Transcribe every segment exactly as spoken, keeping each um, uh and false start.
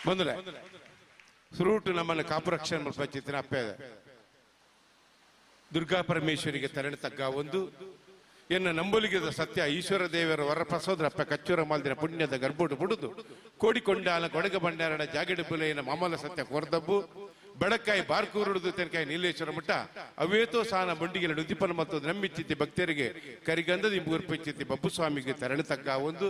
ಬಂದ್ರೆ ಸುರೂಟು ನಮ್ಮನ್ನು ಕಾಪುರಕ್ಷಣೆ ಮಲ್ಪಂಚಿತ್ತಿನ ಅಪ್ಪೆ ದುರ್ಗಾ ಪರಮೇಶ್ವರಿಗೆ ತರಣೆ ತಗ್ಗ ಒಂದು ಎನ್ನ ನಂಬುಲಿಗದ ಸತ್ಯ ಈಶ್ವರ ದೇವರ ವರಪ್ರಸೋದ್ರಪ್ಪ ಕಚ್ಚೂರ ಮಾಲ್ದಿನ ಪುಣ್ಯದ ಗರ್ಭೋಡು ಬುಡುದು ಕೋಡಿಕೊಂಡಾಲ ಕೊಡಗ ಭಂಡಾರಣ ಜಾಗಡಿ ಬುಲೆಯನ ಮಾಮಲ ಸತ್ಯ ಕೋರ್ದಬ್ಬು ಬೆಳಕಾಯಿ ಬಾರ್ಕೂರುಡುದು ತೆನಕಾಯಿ ನೀಲೇಶ್ವರ ಮಠ ಅವೇತೋ ಸಾನ ಬಂಡಿಗೆಲ ಉದ್ದೀಪನ ಮತ್ತು ನಂಬಿಚ್ಚಿತಿ ಭಕ್ತರಿಗೆ ಕರಿಗಂಧದ ಇಂಬೂರ್ಪಿಚ್ಚಿತಿ ಬಬ್ಬುಸ್ವಾಮಿಗೆ ತರಣೆ ತಗ್ಗ ಒಂದು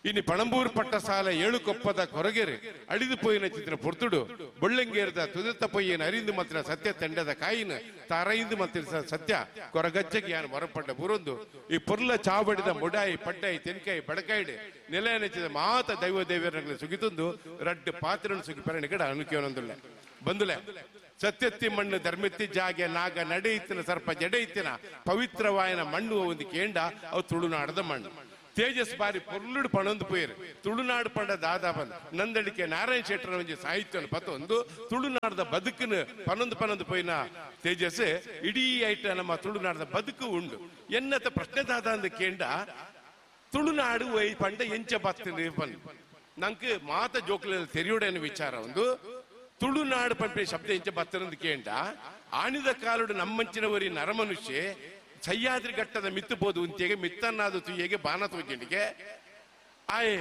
ಇನ್ನು ಪಣಂಬೂರು ಪಟ್ಟ ಸಾಲ ಏಳು ಕೊಪ್ಪದ ಕೊರಗೆರೆ ಅಡಿದು ಪೋಯಿನ ಚಿತ್ರ ಪೊರ್ತುಡು ಬೊಳ್ಳಂಗೇರದ ತುದತ್ತ ಪೊಯ್ಯನ ಅರಿಂದು ಮಾತ್ರ ಸತ್ಯ ತಂಡದ ಕಾಯಿನ ತಾರೈಂದು ಮಾತ್ರ ಸತ್ಯ ಕೊರಗಜ್ಜಗೆ ಯಾನು ಮರಪಟ್ಟ ಬುರೊಂದು ಈ ಪೊರ್ಲ ಚಾವಡಿದ ಮುಡಾಯಿ ಪಡ್ಡಾಯಿ ತೆನ್ಕಾಯಿ ಬಡಕಾಯಿಡೆ ನೆಲ ನೆಚ್ಚಿದ ಮಾತ ದೈವ ದೇವರ ಸುಗಿತೊಂದು ರಡ್ಡು ಪಾತ್ರನ ಸುಗಿ ಪರಣಿ ಕಡ ಅನುಕೇವನೊಂದುಳ್ಳೆ ಬಂದುಲೆ ಸತ್ಯತ್ತಿ ಮಣ್ಣು ಧರ್ಮೆತ್ತಿ ಜಾಗೆ ನಾಗ ನಡೆಯಿತ್ತಿನ ಸರ್ಪ ಜಡೆಯಿತ್ತಿನ ಪವಿತ್ರವಾಯನ ಮಣ್ಣು ಒಂದು ಕೇಂಡ ಅವು ತುಳುನಾಡದ ಮಣ್ಣು ತೇಜಸ್ ಬಾರಿ ಪೊರ್ಲುಡು ಪಣೊಂದು ಪೋಯರು ತುಳುನಾಡು ಪಂಡ ದಾದಾ ಬಂದ ನಂದಳಿಕೆ ನಾರಾಯಣ ಶೆಟ್ಟರ ಒಂಜಿ ಸಾಹಿತ್ಯನ ಪತ್ತೊಂದು ತುಳುನಾಡದ ಬದುಕಿನ ಪನೊಂದು ಪನೊಂದು ಪೋಯಿನ ತೇಜಸ್ ಇಡೀ ಐಟ ನಮ್ಮ ತುಳುನಾಡದ ಬದುಕು ಉಂಡು ಎನ್ನತ ಪ್ರಶ್ನೆ ದಾದಾ ಅಂದ ಕೇಂಡ ತುಳುನಾಡು ವೈ ಪಂಡ ಎಂಚ ಬತ್ತಿನ ಬಂದು ನಂಗೆ ಮಾತ ಜೋಕ್ಲ ತೆರಿಯುಡೇನು ವಿಚಾರ ಒಂದು ತುಳುನಾಡು ಪಂಪೆ ಶಬ್ದ ಎಂಚ ಬತ್ತನಂದು ಕೇಂಡ ಆಣಿದ ಕಾಲುಡು ನಮ್ಮಂಚಿನವರಿ ನರಮನುಷ್ಯ ಸಹ್ಯಾದ್ರಿ ಘಟ್ಟದ ಮಿತ್ತು ಬೋದು ಉಂತಿಗೆ ಮಿತ್ತನ್ನಾದ ತುಯ್ಯಗೆ ಬಾನ ತೋಜಿಂಡಿಗೆ ಆಯ್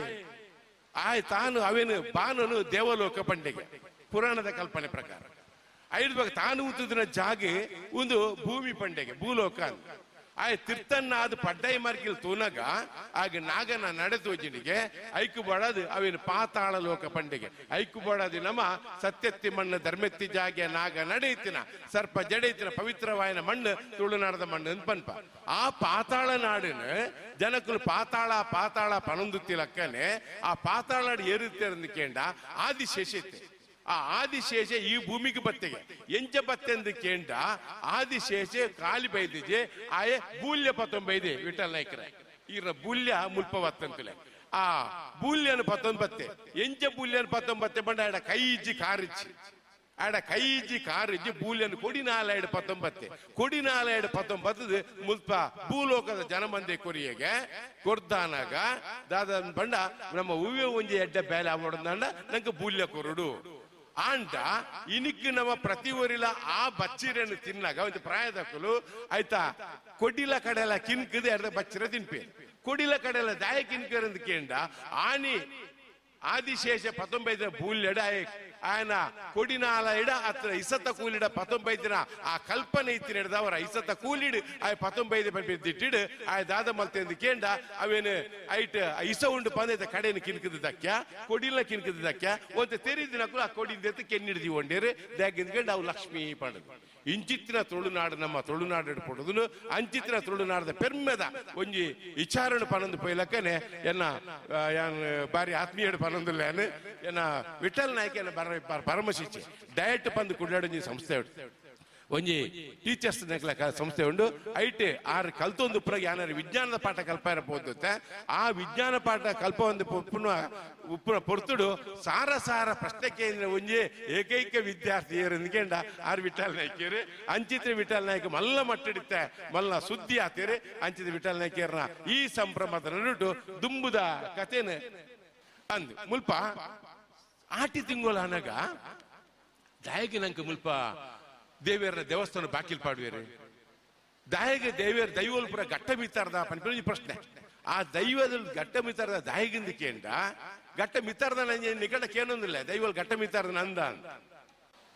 ಆಯ್ ತಾನು ಅವೇನು ಬಾನನು ದೇವಲೋಕ ಪಂಡಿಗೆ ಪುರಾಣದ ಕಲ್ಪನೆ ಪ್ರಕಾರ ಐದು ಬಗ್ಗೆ ತಾನು ಉತ್ತುದಿನ ಜಾಗೆ ಒಂದು ಭೂಮಿ ಪಂಡೆಗೆ ಭೂಲೋಕ ಅಂತ ಆಯ್ ತಿರ್ತನ್ನಾದ ಪಡ್ಡೈ ಮಾರ್ಕಿಲ್ ತೂನಗ ಆಗ ನಾಗನ ನಡೆ ತೋಜಿನಿಗೆ ಐಕು ಬಡದು ಅವೇನು ಪಾತಾಳ ಲೋಕ ಪಂಡಿಗೆ ಐಕು ಬಡದು ನಮ್ಮ ಸತ್ಯತ್ತಿ ಮಣ್ಣು ಧರ್ಮೆತ್ತಿ ಜಾಗೆ ನಾಗ ನಡೆಯುತ್ತಿನ ಸರ್ಪ ಜಡೆಯುತ್ತಿನ ಪವಿತ್ರವಾಯನ ಮಣ್ಣು ತುಳುನಾಡದ ಮಣ್ಣು ಅಂತ ಪನ್ಪ ಆ ಪಾತಾಳ ನಾಡಿನ ಜನಕ್ಕಲು ಪಾತಾಳ ಪಾತಾಳ ಪಣಂದುತ್ತಿಲಕ್ಕನೆ ಆ ಪಾತಾಳ ನಾಡು ಏರುತ್ತೆ ಕೇಂಡ ಆದಿಶೇಷತೆ ಆ ಆದಿಶೇಷ ಈ ಭೂಮಿಗೆ ಬತ್ತೆಗೆ ಎಂಚ ಬತ್ತೆಂದು ಕೇಂಡ ಆದಿಶೇಷ ಖಾಲಿ ಬೈದಿಜೆ ಆಯೆ ಬೂಲ್ಯ ಪತ್ತೊಂಬೈದೆ ವಿಠಲ್ ನಾಯ್ಕರ ಈರ ಬೂಲ್ಯ ಮುಲ್ಪ ಬತ್ತಂತಲೆ ಆ ಬೂಲ್ಯನ ಪತ್ತೊಂಬತ್ತೆ ಎಂಚ ಬೂಲ್ಯನ ಪತ್ತೊಂಬತ್ತೆ ಬಂಡ ಆಡ ಕೈ ಇಜ್ಜಿ ಕಾರಿಚ್ಚಿ ಆಡ ಕೈ ಇಜ್ಜಿ ಕಾರಿಜ್ಜಿ ಬೂಲ್ಯನ ಕೊಡಿನಾಲ ಎಡು ಪತ್ತೊಂಬತ್ತೆ ಕೊಡಿನಾಲ ಎಡು ಪತ್ತೊಂಬತ್ತದ ಮುಲ್ಪ ಭೂಲೋಕದ ಜನಮಂದೆ ಕೊರಿಯಗೆ ಕೊರ್ದಾನಾಗ ದಾದ ಬಂಡ ನಮ್ಮ ಹೂವೆ ಒಂಜಿ ಎಡ್ಡ ಬೇಲೆ ಆವಡಂದ ನಂಗೆ ಬೂಲ್ಯ ಕೊರಡು ಆಂಡ ಇನಿಕ್ ನಮ್ಮ ಪ್ರತಿ ಊರಿಲ ಆ ಬಚ್ಚಿರನ್ನು ತಿನ್ನಾಗ ಒಂದು ಪ್ರಾಯದಕ್ಕಲು ಆಯ್ತಾ ಕೊಡಿಲ ಕಡೆಲ್ಲ ಕಿನ್ಕದ ಎರ್ದ ಬಚ್ಚಿರ ತಿನ್ಪಿ ಕೊಡಿಲ ಕಡೆಲ್ಲ ದಾಯ ಕಿನ್ಕರಂದು ಕೇಂಡ ಆನಿ ಆದಿಶೇಷ ಪತ್ತೊಂಬೈದಿನ ಬೂಲ್ಯಡ ఆయన ಕೊಡಿನಾಲ ಇಡ ಅತ್ರ ಇಸತ ಕೂಲಿಡ ಪತ್ತೊಂಬೈದಿನ ಆ ಕಲ್ಪನೆ ಇತ್ತಿನ ಹಿಡ್ದವರ ಇಸತ ಕೂಲಿಡು ಆಯ್ ಪತ್ತೊಂಬೈದು ದಿಟ್ಟಿಡು ಆಯ್ ದಾದ ಮಲ್ತೆಂದು ಕೇಂಡ ಅವೇನು ಐಟ್ ಇಸ ಉಂಡು ಪಂದೈತ ಕಡೆಯನ್ನು ಕಿನ್ಕದ ದಕ್ಯ ಕೊಡಿಲ ಕಿನ್ಕದ ದಕ್ಯ ಒಂತೆ ತೆರಿದಿನಕ್ಕೂ ಆ ಕೊಡಿಂದ ಕೆನ್ನಿಡ್ದಿ ಒಂಡೇರು ದಾಗಿಂದ್ಕೊಂಡು ಅವು ಲಕ್ಷ್ಮೀ ಪಂಡದು ಇಂಚಿತ್ತಿನ ತುಳುನಾಡು ನಮ್ಮ ತುಳುನಾಡು ಪಡೋದನು ಅಂಚಿತ್ತಿನ ತುಳುನಾಡದ ಪೆರ್ಮೆದ ಒಂಜಿ ವಿಚಾರಣೆ ಪನೊಂದು ಪೈಲಕ್ಕನೆ ಎನ್ನ ಬಾರಿ ಆತ್ಮೀಯಡು ಪನೊಂದುಲ್ಲೇನು ಎನ್ನ ವಿಠಲ್ ನಾಯ್ಕ ಎನ್ನ ಪರಮಶಿಷ್ಯ ಡಯಟ್ ಪಂದು ಕುಡ್ಲಾಡೊಂಜಿ ಸಂಸ್ಥೆ ಉಂಟು ಒಂಜಿ ಟೀಚರ್ಸ್ ಸಂಸ್ಥೆ ಉಂಡು ಐಟ್ ಆರು ಕಲ್ತೊಂದು ಪುರಗೆ ಯಾನಾರು ವಿಜ್ಞಾನದ ಪಾಠ ಕಲ್ಪ ಇರಬಹುದು ಆ ವಿಜ್ಞಾನ ಪಾಠ ಕಲ್ಪ ಒಂದು ಪುನಃ ಉಪ್ಪುನ ಪೊರ್ತುಡು ಸಾರ ಸಾರ ಪ್ರಶ್ನೆ ಕೇಂದ್ರ ಒಂಜಿ ಏಕೈಕ ವಿದ್ಯಾರ್ಥಿ ಅಂದ್ಕೊಂಡ ಆರ್ ವಿಠಲ್ ನಾಯ್ಕಿಯರು ಅಂಚಿತ್ರ ವಿಠಲ್ ನಾಯ್ಕ ಮಲ್ಲ ಮಟ್ಟಿಡಿತ್ತೆ ಮಲ್ಲ ಸುದ್ದಿ ಆತೀರಿ ಅಂಚಿತ ವಿಠಲ್ ನಾಯ್ಕಿಯರ್ನ ಈ ಸಂಭ್ರಮದ ನಡುಟು ದುಂಬುದ ಕಥೆನ ಅಂದು ಮುಲ್ಪ ಆಟಿ ತಿಂಗಳ ಅನಗ ದಾಯಗೆ ನಂಗೆ ಮುಲ್ಪ ದೇವಿಯರ ದೇವಸ್ಥಾನ ಬಾಕಿಲ್ ಪಾಡುವೇರು ದಾಯಗೆ ದೇವಿಯರ ದೈವಲ್ಪುರ ಘಟ್ಟ ಮಿತ್ತಾರ್ದ ಪನ್ಪಿನ ಪ್ರಶ್ನೆ ಆ ದೈವದ ಘಟ್ಟ ಮಿತ್ತಾರ್ದ ದಾಯಗಿಂದ ಕೇಂಡ ಘಟ್ಟ ಮಿತ್ತಾರ್ದ ನಂಗೆ ನಿಕಟ ಕೇನೊಂದಿಲ್ಲ ದೈವಲ್ ಘಟ್ಟ ಮಿತ್ತಾರ್ದ ನಂದ ಅಂತ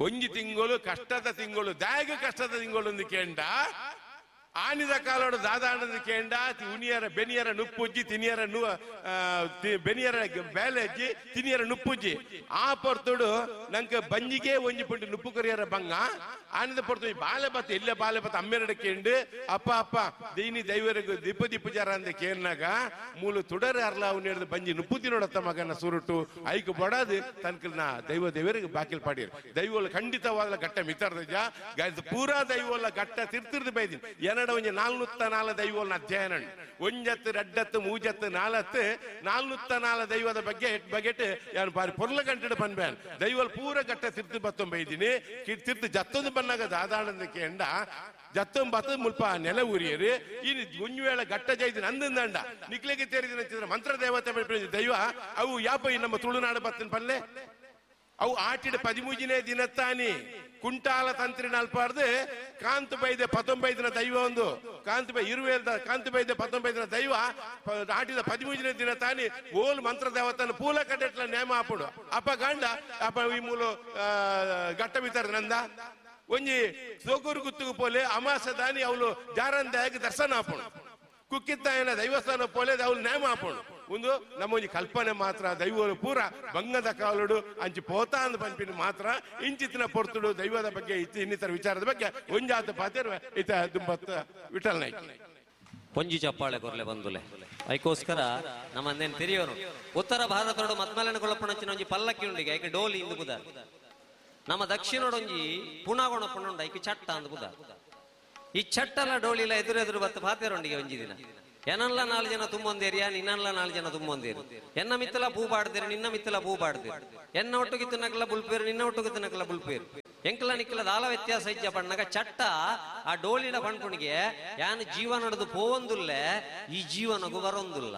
ಒಂಜಿ ತಿಂಗಳು ಕಷ್ಟದ ತಿಂಗಳು ದಾಯಗ ಕಷ್ಟದ ತಿಂಗಳು ಒಂದು ಕೇಂಡ ಆನಿದ ಕಾಲೋಡು ದಾದಾಣದ ಕೇಂಡ ಉನಿಯರ ಬೆನಿಯರ ನುಪ್ಪುಜ್ಜಿ ತಿನಿಯರ ನು ಬೆನಿಯರ ಬೇಲೆಜ್ಜಿ ತಿನಿಯರ ನುಪ್ಪುಜ್ಜಿ ಆ ಪೊರ್ತುಡು ನಂಗೆ ಬಂಜಿಗೆ ಒಂಜಿ ಪುಂಡಿ ನುಪ್ಪು ಕೊರಿಯರ ಬಂಗ ಆನಿದ ಪೊರ್ತು ಬಾಲೆ ಬತ್ತ ಇಲ್ಲೇ ಬಾಲೆ ಬತ್ತ ಅಮ್ಮೆರಡ ಕೇಂಡು ಅಪ್ಪ ಅಪ್ಪ ದೈನಿ ದೈವರಿಗೂ ದಿಪ್ಪ ದಿಪ್ಪು ಜರ ಅಂದ ಕೇನ್ನಾಗ ಮೂಲು ತುಡರ ಅರ್ಲ ಅವನು ಹಿಡಿದು ಬಂಜಿ ನುಪ್ಪು ತಿನ್ನೋಡತ್ತ ಮಗನ ಸುರುಟು ಐಕು ಬಡದು ತನ್ಕಲ್ನ ದೈವ ದೇವರಿಗೆ ಬಾಕಿಲ್ ಪಾಡಿರು ದೈವಲ್ಲ ಖಂಡಿತವಾದ ಘಟ್ಟ ಮಿತರ್ದ ಪೂರಾ ದೈವಲ್ಲ ಘಟ್ಟ ತಿರ್ತಿರ್ದು ಬೈದಿನಿ ಎರಡ ಒಂಜಿ ನಾಲ್ನೂತ್ತ ನಾಲ ದೈವನ ಅಧ್ಯಯನ ಒಂಜತ್ತು ರಡ್ಡತ್ತು ಮೂಜತ್ತು ನಾಲತ್ತು ನಾಲ್ನೂತ್ತ ನಾಲ ದೈವದ ಬಗ್ಗೆ ಬಗೆಟ್ ಯಾರು ಬಾರಿ ಪೊರ್ಲ ಗಂಟೆ ಬನ್ಬೇನ್ ದೈವಲ್ ಪೂರ ಘಟ್ಟ ತಿರ್ತು ಬತ್ತೊಂಬೈದಿನಿ ತಿರ್ತು ಜತ್ತೊಂದು ಬನ್ನಾಗ ದಾದಾಣದ ಕೇಂಡ ಜತ್ತೊಂಬತ್ತು ಮುಲ್ಪ ನೆಲ ಉರಿಯರು ಇನ್ನು ಒಂಜು ವೇಳೆ ಘಟ್ಟ ಜೈದಿನ ಅಂದಂಡ ನಿಕ್ಲೆಗೆ ತೇರಿದಿನ ಮಂತ್ರ ದೇವತೆ ದೈವ ಅವು ಯಾಪ ನಮ್ಮ ತುಳುನಾಡು ಬತ್ತನ್ ಪಲ್ಲೆ ಅವು ಆಟಿಡ ಪದಿಮೂಜಿನೇ ದಿನತ್ತಾನಿ ಕುಂಟಾಲ ತಂತ್ರಿ ನಲ್ಪಾರ್ದು ಕಾಂತು ಬೈದೆ ಪತ್ತೊಂಬೈದಿನ ದೈವ ಒಂದು ಕಾಂತು ಬೈ ಇರುವೇಲ್ದ ಕಾಂತು ಬೈದೆ ಪತ್ತೊಂಬೈದಿನ ದೈವ ಆಟಿದ ಪದಿಮೂಜಿನೇ ದಿನ ತಾನಿ ಓಲ್ ಮಂತ್ರ ದೇವತನ ಪೂಲ ಕಡೆಟ್ಲ ನೇಮ ಆಪುಡು ಅಪ್ಪ ಗಂಡ ಅಪ್ಪ ಈ ಮೂಲ ಗಟ್ಟ ಬಿತ್ತರ ನಂದ ಒಂಜಿ ಸೋಕೂರು ಗುತ್ತುಗು ಪೋಲೆ ಅಮಾಸ ದಾನಿ ಅವಳು ಜಾರಂದಾಗಿ ದರ್ಶನ ಆಪುಡು ಕುಕ್ಕಿತ್ತಾಯನ ದೈವಸ್ಥಾನ ಪೋಲೆ ಅವಳು ನೇಮ ಆಪುಡು ಒಂದು ನಮ್ಮ ಒಂಜಿ ಕಲ್ಪನೆ ಮಾತ್ರ ದೈವರು ಪೂರ ಬಂಗದ ಕಾಲುಡು ಅಂಚಿ ಪೋತಾ ಅಂದ್ ಪನ್ಪಿನ ಮಾತ್ರ ಇಂಚಿತ್ತಿನ ಪೊರ್ತುಡು ದೈವದ ಬಗ್ಗೆ ಇತ್ತು ಇನ್ನಿತರ ವಿಚಾರದ ಬಗ್ಗೆ ಒಂಜಾತ ಪಾತಿರುವ ಇತ ದುಂಬತ್ತ ವಿಠಲ್ ನಾಯ್ಕ ಪೊಂಜಿ ಚಪ್ಪಾಳೆ ಕೊರ್ಲೆ ಬಂದುಲೆ ಐಕೋಸ್ಕರ ನಮ್ಮಂದೇನು ತೆರಿಯೋರು ಉತ್ತರ ಭಾರತದೊಡು ಮತ್ಮಲನ ಕೊಳಪಣಂಚಿನ ಒಂಜಿ ಪಲ್ಲಕ್ಕಿ ಉಂಡಿಗೆ ಐಕೆ ಡೋಲಿ ಇಂದು ಬುದ ನಮ್ಮ ದಕ್ಷಿಣೊಡೊಂಜಿ ಪುಣಾಗೋಣ ಪುಣುಂಡ ಐಕೆ ಚಟ್ಟ ಅಂದ್ ಬುದ ಈ ಚಟ್ಟಲ ಡೋಲಿಲ ಎದುರೆದುರು ಬತ್ತು ಪಾತೆರೊಂಡಿಗೆ ಒಂಜಿ ದಿನ ಏನಲ್ಲ ನಾಲ್ ಜನ ತುಂಬೊಂದೇರಿಯಾ ನಿನ್ನಲ್ಲ ನಾಲ್ ಜನ ತುಂಬೊಂದೇರಿ ಎನ್ನ ಮಿತ್ತಲ ಪೂ ಪಾಡ್ದಿರು ನಿನ್ನ ಮಿತ್ತಲ ಪೂ ಪಾಡ್ದಿರು ಎನ್ನ ಒಟ್ಟುಗೆ ತಿನ್ನಕಲ ಬುಲ್ಪೇರು ನಿನ್ನ ಒಟ್ಟುಗೆ ತಿನ್ನಕಲ ಬುಲ್ಪೇರು ಎಂಕಲ ನಿಕ್ಕಲ ದಾಲ ವ್ಯತ್ಯಾಸ ಇಜ್ಜ ಪಣ್ಣಗ ಚಟ್ಟ ಆ ಡೋಲಿಡ ಪಣ್ಪುಣಿಗೆ ಯಾನು ಜೀವನಡದು ಪೋವೊಂದುಲ್ಲೆ ಈ ಜೀವನಗು ಬರೋಂದುಲ್ಲ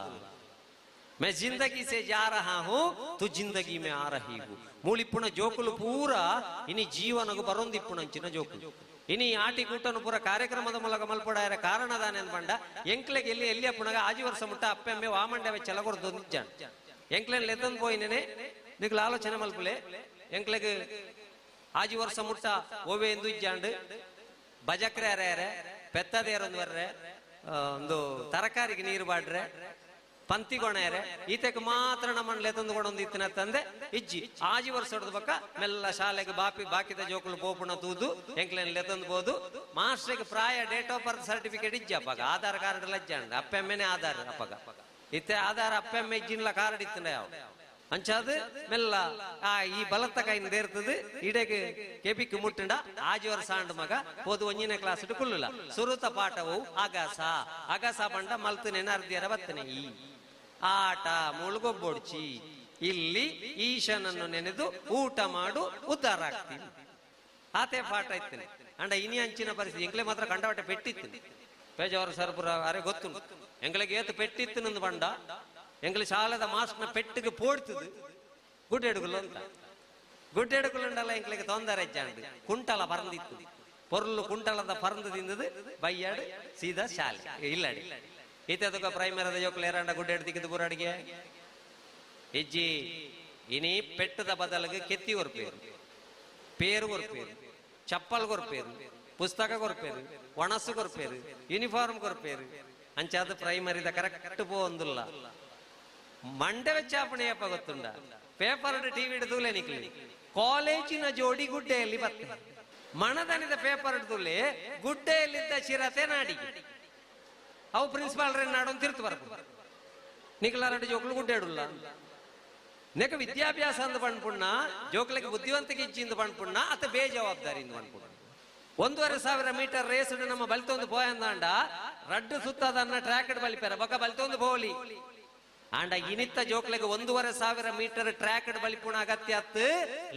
ಮೈ ಜಿಂದಗಿ ಸೆ ಜಾ ರಹಾ ಹೂ ತು ಜಿಂದಗಿ ಮೇ ಆ ರಹಿ ಹೂ ಮೂಳಿಪ್ಪುಣ ಜೋಕುಲು ಪೂರ ಇನಿ ಜೀವನಗು ಬರೋಂದಿಪ್ಪುಣಂಚಿನ ಜೋಕುಲು ಇನಿ ಆಟಿ ಕೂಟನು ಪೂರ ಕಾರ್ಯಕ್ರಮದ ಮೂಲಕ ಮಲ್ಪಡಾಯರ ಕಾರಣದಾನೆ ಅಂದ್ ಬಂಡ ಎಂಕ್ಲೆಗೆ ಎಲ್ಲಿ ಎಲ್ಲಿ ಅಪ್ಪಣಗ ಆಜಿ ವರ್ಷ ಮುಟ್ಟ ಅಪ್ಪೆಮ್ಮೆ ವಾಮಂಡೆ ವೆಚ್ಚಲ ಕೊರ್ದು ನಿಜ್ಜಾನ್ ಎಂಕ್ಲೆನ್ ಲೆತ್ತಂದ್ ಪೋಯಿನೇ ನಿಕ್ಲ ಆಲೋಚನೆ ಮಲ್ಪುಲೆ ಎಂಕ್ಲೆಗ್ ಆಜಿ ವರ್ಷ ಮುಟ್ಟ ಓವೆ ಎಂದು ಇಜ್ಜಾಂಡ್ ಬಜಕ್ರೆ ಅರೆ ಪೆತ್ತದೇರೊಂದು ವರ್ರೆ ಒಂದು ತರಕಾರಿಗೆ ನೀರು ಬಾಡ್ರೆ ಪಂತಿಗೊಣೆರೆ ಈತಕ್ಕೆ ಮಾತ್ರ ನಮ್ಮನ್ನ ಲೆತ್ತಂದು ಕೊಡೊಂದು ಇತ್ತಿನ ತಂದೆ ಇಜ್ಜಿ ಆಜಿ ವರ್ಷ ಹೊಡೆದ ಬಕ್ಕ ಮೆಲ್ಲ ಶಾಲೆಗೆ ಬಾಪಿ ಬಾಕಿದ ಜೋಕುಲು ಪೋಪುಣ ತೂದು ಎಂಕ್ಲೆನ್ ಲೆತ್ತಂದು ಬೋದು ಮಾಸ್ಟ್ರಿಗೆ ಪ್ರಾಯ ಡೇಟ್ ಆಫ್ ಬರ್ತ್ ಸರ್ಟಿಫಿಕೇಟ್ ಇಜ್ಜಿ ಅಪ್ಪಗ ಆಧಾರ್ ಕಾರ್ಡ್ ಲಜ್ಜಾಂಡ್ ಅಪ್ಪೆಮ್ಮೆನೆ ಆಧಾರ್ ಅಪ್ಪಗ ಇತ್ತೆ ಆಧಾರ್ ಅಪ್ಪೆಮ್ಮೆ ಇಜ್ಜಿನ್ಲ ಕಾರ್ಡ್ ಇತ್ತಿನ ಯಾವ ಅಂಚಾದ ಮೆಲ್ಲ ಆ ಈ ಬಲತ್ತ ಕೈನ ದೇರ್ತದೆ ಇಡೆಗೆ ಕೆಬಿಕ್ ಮುಟ್ಟಂಡ ಆಜಿ ವರ್ಷ ಆಂಡ್ ಮಗ ಹೋದು ಒಂಜಿನ ಕ್ಲಾಸ್ ಕುಲ್ಲುಲ ಸುರುತ ಪಾಠವು ಅಗಸ ಅಗಸ ಬಂಡ ಮಲ್ತನೆ ಅರ್ಧಿಯರ ಬತ್ತನೆ ಈ ಆಟ ಮುಳುಗೊಬ್ಬೊಡ್ಚಿ ಇಲ್ಲಿ ಈಶನನ್ನು ನೆನೆದು ಊಟ ಮಾಡು ಉದ್ಧಾರ ಆಗ್ತೀನಿ ಆತೆ ಪಾಠ ಇತ್ತೇನೆ ಅಂಡ ಇನಿ ಅಂಚಿನ ಪರಿಸ್ಥಿತಿ ಎಂಕ್ಲೆ ಮಾತ್ರ ಕಂಡವಟೆ ಪೆಟ್ಟಿತ್ತು ಪೇಜಾವರ ಸರ್ಪುರ ಅರೆ ಗೊತ್ತು ಎಂಗ್ಲಿಗೆ ಏತು ಪೆಟ್ಟಿತ್ತು ನಂದು ಬಂಡ ಎಂಗ್ಲಿ ಶಾಲೆದ ಮಾಸ್ಟ್ನ ಪೆಟ್ಟಿಗೆ ಪೋಡ್ತದು ಗುಡ್ಡೆಡುಗುಲು ಅಂತ ಗುಡ್ಡೆಡುಗುಲುಂಡಲ್ಲ ಎಂಗ್ಲಿಗೆ ತೊಂದರೆ ಇಜ್ಜಾಂಡ್ ಕುಂಟಲ ಪರಂದಿತ್ತು ಪೊರ್ಲು ಕುಂಟಲದ ಪರಂದು ತಿಂದದು ಬೈಯಾಡು ಸೀದಾ ಶಾಲೆ ಇಲ್ಲಡಿ ಈತದಕ್ಕ ಪ್ರೈಮರದ ಜೋಕುಲು ಏರಾಂಡ ಗುಡ್ಡೆಡು ತಿಕ್ಕಿದ್ದು ಪೂರ ಅಡಿಗೆ ಇಜ್ಜಿ ಇನಿ ಪೆಟ್ಟದ ಬದಲಿಗೆ ಕೆತ್ತಿ ಕೊರ್ಪೇರು ಪೇರು ಕೊರ್ಪೇರು ಚಪ್ಪಲ್ ಕೊರ್ಪೇರು ಪುಸ್ತಕ ಕೊರ್ಪೇರು ಒಣಸು ಕೊರ್ಪೇರು ಯೂನಿಫಾರ್ಮ್ ಕೊರ್ಪೇರು ಅಂಚಾದ ಪ್ರೈಮರಿದ ಕರೆಕ್ಟ್ ಪೋಂದುಲ್ಲ ಮಂಡೆ ವೆಚ್ಚಾಪಣೆಯಪ್ಪ ಗೊತ್ತುಂಡ ಪೇಪರ್ ಟಿವಿ ತೂಲೆ ನಿಕ್ಲಿ ಕಾಲೇಜಿನ ಜೋಡಿ ಗುಡ್ಡೆಯಲ್ಲಿ ಬತ್ತೆ ಮಣದನಿದ ಪೇಪರ್ ತೂಲೆ ಗುಡ್ಡೆಯಲ್ಲಿದ್ದ ಚಿರತೆ ನಾಡಿಗೆ ಅವು ಪ್ರಿನ್ಸಿಪಾಲ್ ನಾಡೊಂದು ತಿರ್ತು ಬರ್ಪು ನಿಖಲಾರಡ್ಡಿ ಜೋಕ್ಲು ಗುಡ್ಡೇಡುಲ್ಲ ನೆಕ ವಿದ್ಯಾಭ್ಯಾಸ ಅಂದ ಪಣ್ಪುಣ್ಣ ಜೋಕ್ಲಿಗೆ ಬುದ್ಧಿವಂತಿಕೆ ಇಚ್ಚಿಂದ ಪಣ್ಪುಣ್ಣ ಅತ ಬೇಜವಾಬ್ದಾರಿ ಇಂದ ಪಣ್ಪುಣ್ಣ ಒಂದೂವರೆ ಸಾವಿರ ಮೀಟರ್ ರೇಸ್ ನಮ್ಮ ಬಲಿತೊಂದು ಪೋಯಂದಾಂಡ ರಡ್ಡು ಸುತ್ತದನ್ನ ಟ್ರ್ಯಾಕ್ ಬಲಿಪೆರ ಬೊಕ ಬಲಿತೊಂದು ಬೋಲಿ ಆಂಡ ಇನಿತ್ತ ಜೋಕ್ಲೆಗೆ ಒಂದೂವರೆ ಸಾವಿರ ಮೀಟರ್ ಟ್ರ್ಯಾಕ್ ಬಲಿಪುಣ ಅಗತ್ಯ ಅತ್ತು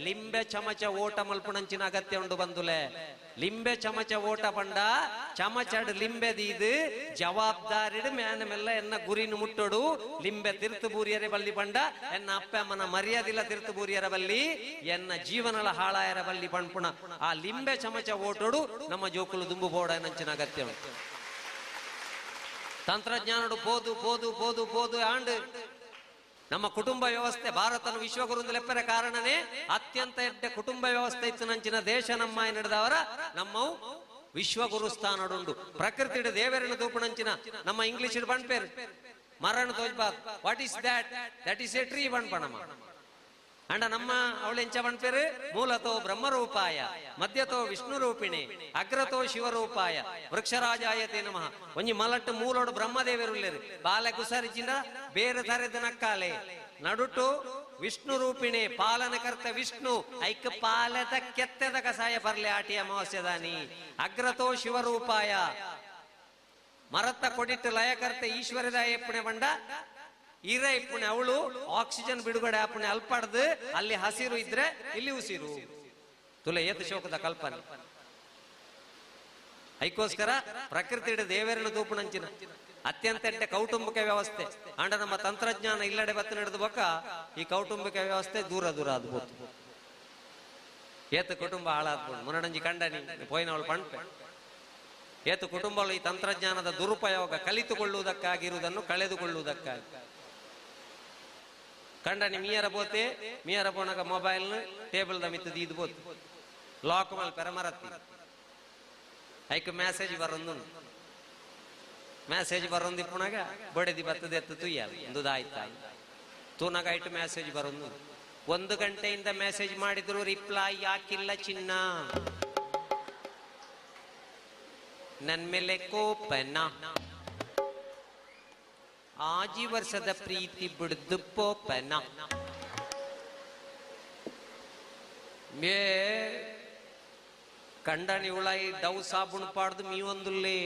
ಲಿಂಬೆ ಚಮಚ ಓಟ ಮಲ್ಪುಣಂಚಿನ ಅಗತ್ಯ ಉಂಡು ಬಂದುಲೆ ಲಿಂಬೆ ಚಮಚ ಓಟ ಪಂಡ ಚಮಚಡ್ ಲಿಂಬೆ ದೀದು ಜವಾಬ್ದಾರಿಡು ಮ್ಯಾನ ಮೆಲ್ಲ ಎನ್ನ ಗುರಿನ ಮುಟ್ಟೋಡು ಲಿಂಬೆ ತಿರ್ತು ಬೂರಿಯರೆ ಬಲ್ಲಿ ಪಂಡ ಎನ್ನ ಅಪ್ಪ ಅಮ್ಮನ ಮರ್ಯಾದಿಲ್ಲ ತಿರ್ತು ಬೂರಿಯರ ಬಲ್ಲಿ ಎನ್ನ ಜೀವನಲ ಹಾಳಾಯರ ಬಲ್ಲಿ ಪಣ್ಪುಣ ಆ ಲಿಂಬೆ ಚಮಚ ಓಟೋಡು ನಮ್ಮ ಜೋಕುಲು ದುಂಬು ಬೋಡ ನಂಚಿನ ಅಗತ್ಯ ಉಂಟು. ತಂತ್ರಜ್ಞಾನಡು ಪೋದು ಪೋದು ಪೋದು ಪೋದು ಆಂಡ್ ನಮ್ಮ ಕುಟುಂಬ ವ್ಯವಸ್ಥೆ ಭಾರತನ ವಿಶ್ವಗುರು ಲೆಪ್ಪರ ಕಾರಣನೇ ಅತ್ಯಂತ ಎಡ್ಡ ಕುಟುಂಬ ವ್ಯವಸ್ಥೆ ಇತ್ತು ನಂಚಿನ ದೇಶ ನಮ್ಮ ನಡೆದವರ ನಮ್ಮವು ವಿಶ್ವಗುರು ಸ್ಥಾನಡುಂಡು ಪ್ರಕೃತಿ ದೇವರನ್ನು ತೂಪುಣಂಚಿನ ನಮ್ಮ ಇಂಗ್ಲಿಷ್ ಬಣ್ಪೇರು ಮರಣ ತೋಜ್ಬಾದ್ what is that that is a tree ಬಣ್ಪಣಮ್ಮ ಅಂಡ ನಮ್ಮ ಅವಳೆಂಚ ಬಣ್ಪೇರು ಮೂಲತೋ ಬ್ರಹ್ಮರೂಪಾಯ ಮಧ್ಯತೋ ವಿಷ್ಣು ರೂಪಿಣಿ ಅಗ್ರತೋ ಶಿವರೂಪಾಯ ವೃಕ್ಷರಾಜಾಯತೆ ನಮಃ ಒಂಜಿ ಮಲಟ್ಟು ಮೂಲೋಡು ಬ್ರಹ್ಮದೇವರುಲ್ಲೇರು ಬಾಲೆ ಕುಸರಿಚಿಂದ ಬೇರೆ ತರೆದ ನಕ್ಕಾಲೆ ನಡುಟು ವಿಷ್ಣು ರೂಪಿಣಿ ಪಾಲನಕರ್ತ ವಿಷ್ಣು ಐಕ ಪಾಲದ ಕೆತ್ತೆದ ಕಸಾಯ ಬರ್ಲೆ ಆಟಿ ಅಮಾವಾಸ್ಯದಾನಿ ಅಗ್ರತೋ ಶಿವರೂಪಾಯ ಮರತ್ತ ಕೊಡಿಟ್ಟು ಲಯಕರ್ತ ಈಶ್ವರದ ಎಪ್ಪಣೆ ಬಂಡ ಇರ ಇಪ್ಪಣೆ ಅವಳು ಆಕ್ಸಿಜನ್ ಬಿಡುಗಡೆ ಆಪಣೆ ಅಲ್ಪಡ್ದು ಅಲ್ಲಿ ಹಸಿರು ಇದ್ರೆ ಇಲ್ಲಿ ಉಸಿರು ತುಲೆ ಏತ ಶೋಕದ ಕಲ್ಪನೆ ಐಕೋಸ್ಕರ ಪ್ರಕೃತಿ ದೇವರನ್ನು ತೂಪುಣಂಚಿನ ಅತ್ಯಂತ ಎಡ್ಡೆ ಕೌಟುಂಬಿಕ ವ್ಯವಸ್ಥೆ ಅಂಡ ನಮ್ಮ ತಂತ್ರಜ್ಞಾನ ಇಲ್ಲಡೆ ಬತ್ತ ನಡೆದ ಬೊಕ್ಕ ಈ ಕೌಟುಂಬಿಕ ವ್ಯವಸ್ಥೆ ದೂರ ದೂರ ಅದು ಹೋತು. ಏತ ಕುಟುಂಬ ಹಾಳಾದ್ಬೋದು ಮುನ್ನಡಂಜಿ ಕಂಡನಿ ಪೋಯಿನವಳು ಪಣ್ಪೆ. ಏತ ಕುಟುಂಬಗಳು ಈ ತಂತ್ರಜ್ಞಾನದ ದುರುಪಯೋಗ ಕಲಿತುಕೊಳ್ಳುವುದಕ್ಕಾಗಿರುವುದನ್ನು ಕಳೆದುಕೊಳ್ಳುವುದಕ್ಕಾಗಿ. ಕಂಡನಿ ಮೀಯರ ಬೋತೆ, ಮೀಯರ ಪೋಣಗ ಮೊಬೈಲ್ ಟೇಬಲ್ the ಮಿತ್ತದ ಇದು ಬೋತು ಲಾಕ್ ಮಲ್ ಪೆರಮರತ್ತಿ ಐಕ್ ಮೆಸೇಜ್ ಬರೊಂದು ಮೆಸೇಜ್ ಬರೊಂದು ಇಪ್ಪುನಾಗ ಬಡೆದಿ ಬತ್ತದ ಎತ್ತು ತುಯ್ಯಲ್ಲ ಒಂದು ಆಯ್ತಾ ತೂನಾಗ ಐಟು ಮೆಸೇಜ್ ಬರೊಂದು. ಒಂದು ಗಂಟೆಯಿಂದ ಮೆಸೇಜ್ ಮಾಡಿದ್ರು ರಿಪ್ಲೈ ಯಾಕಿಲ್ಲ ಚಿನ್ನ, ನನ್ ಮೇಲೆ ಕೋಪನ, ಆಜಿ ವರ್ಷದ ಪ್ರೀತಿ ಬಿಡ್ದು ಪೋಪನ. ಮೇ ಕಂಡನಿ ಉಳಾಯಿ ಡವ್ ಸಾಬೂನ್ ಪಾಡ್ದು ಮೀ ಒಂದುಲ್ಲೇ.